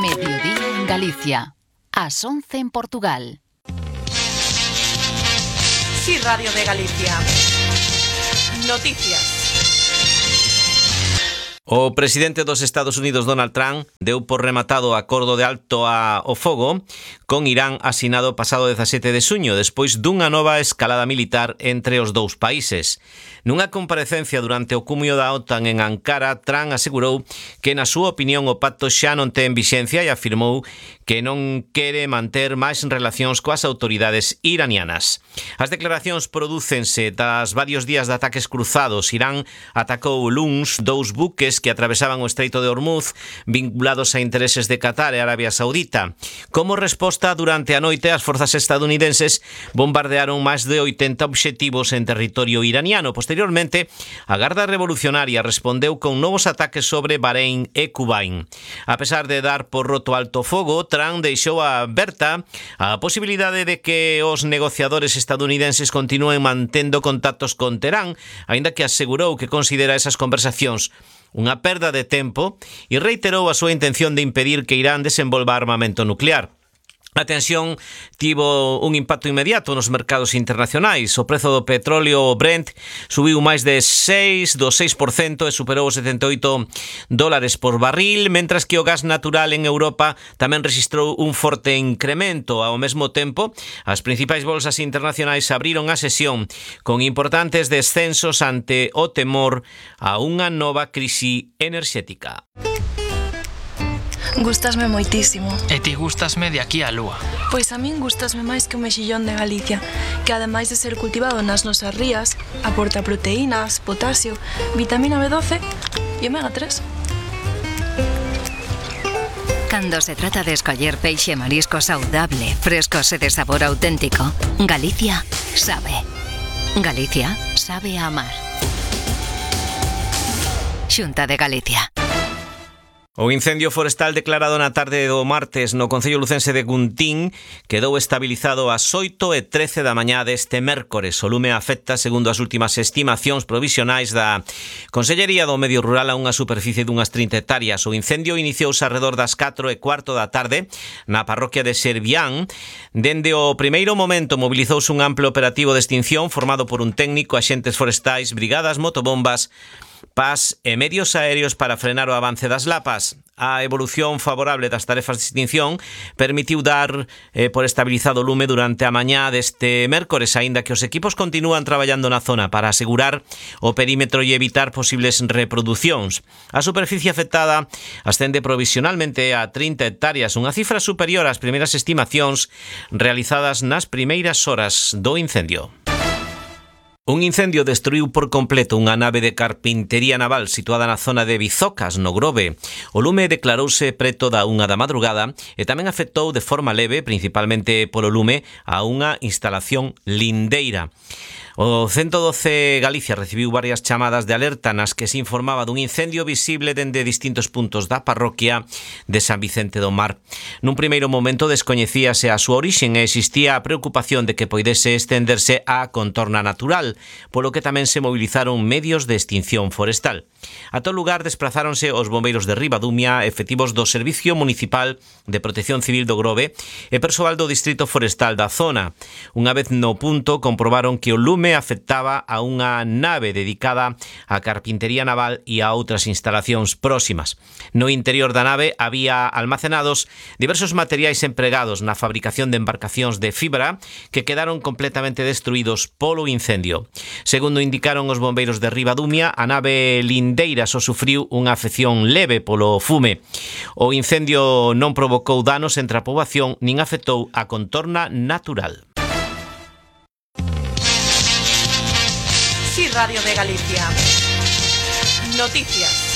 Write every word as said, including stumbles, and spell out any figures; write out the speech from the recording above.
Mediodía en Galicia. Ás once en Portugal. Sí, Radio de Galicia. Noticias. O presidente dos Estados Unidos, Donald Trump, deu por rematado o acordo de alto ao fogo con Irán asinado pasado dezasete de xuño, despois dunha nova escalada militar entre os dous países. Nunha comparecencia durante o cumio da OTAN en Ankara, Trump asegurou que, na súa opinión, o pacto xa non ten vixencia e afirmou que non quere manter máis relacións coas autoridades iranianas. As declaracións prodúcense tras varios días de ataques cruzados. Irán atacou o luns dous buques que atravesaban o Estreito de Hormuz vinculados a intereses de Qatar e Arabia Saudita. Como resposta, durante a noite, as forzas estadounidenses bombardearon máis de oitenta obxectivos en territorio iraniano. Posteriormente, a Garda Revolucionaria respondeu con novos ataques sobre Bahrein e Kuwait. A pesar de dar por roto alto fogo, Trump deixou aberta a posibilidade de que os negociadores estadounidenses continúen mantendo contactos con Teherán, aínda que asegurou que considera esas conversacións unha perda de tempo e reiterou a súa intención de impedir que Irán desenvolva armamento nuclear. A tensión tivo un impacto inmediato nos mercados internacionais. O prezo do petróleo Brent subiu máis de seis do seis por cento e superou os setenta e oito dólares por barril, mentras que o gas natural en Europa tamén rexistrou un forte incremento. Ao mesmo tempo, as principais bolsas internacionais abriron a sesión con importantes descensos ante o temor a unha nova crise enerxética. Gústasme moitísimo. E ti gústasme de aquí á lúa. Pois a min gústasme máis que o mexillón de Galicia, que ademais de ser cultivado nas nosas rías, aporta proteínas, potasio, vitamina B doce e omega tres. Cando se trata de escoller peixe e marisco saudable, frescos e de sabor auténtico, Galicia sabe. Galicia sabe a amar. Xunta de Galicia. O incendio forestal declarado na tarde do martes no concello lucense de Guntín quedou estabilizado ás oito e trece da mañá deste mércores. O lume afecta, segundo as últimas estimacións provisionais da Consellería do Medio Rural, a unha superficie dunhas trinta hectáreas. O incendio iniciouse alrededor das catro e cuarto da tarde na parroquia de Servián. Dende o primeiro momento mobilizouse un amplo operativo de extinción formado por un técnico, axentes forestais, brigadas, motobombas, P A S e medios aéreos para frenar o avance das lapas. A evolución favorable das tarefas de extinción permitiu dar eh, por estabilizado o lume durante a mañá deste mércores, aínda que os equipos continúan traballando na zona para asegurar o perímetro e evitar posibles reproducións. A superficie afectada ascende provisionalmente a trinta hectáreas, unha cifra superior ás primeiras estimacións realizadas nas primeiras horas do incendio. Un incendio destruiu por completo unha nave de carpintería naval situada na zona de Bizocas, no Grove. O lume declarouse preto da unha da madrugada e tamén afectou de forma leve, principalmente polo lume, a unha instalación lindeira. O ciento doce Galicia recibiu varias chamadas de alerta nas que se informaba dun incendio visible dende distintos puntos da parroquia de San Vicente do Mar. Nun primeiro momento descoñecíase a súa orixen e existía a preocupación de que poidese estenderse á contorna natural, polo que tamén se movilizaron medios de extinción forestal. A todo lugar desplazáronse os bombeiros de Ribadumia, efectivos do Servicio Municipal de Protección Civil do Grove e persoal do Distrito Forestal da zona. Unha vez no punto comprobaron que o lume afectaba a unha nave dedicada á carpintería naval e a outras instalacións próximas. No interior da nave había almacenados diversos materiais empregados na fabricación de embarcacións de fibra que quedaron completamente destruídos polo incendio. Segundo indicaron os bombeiros de Ribadumia, a nave lindeira só sufriu unha afección leve polo fume. O incendio non provocou danos entre a poboación nin afectou a contorna natural. Sí, Radio de Galicia. Noticias.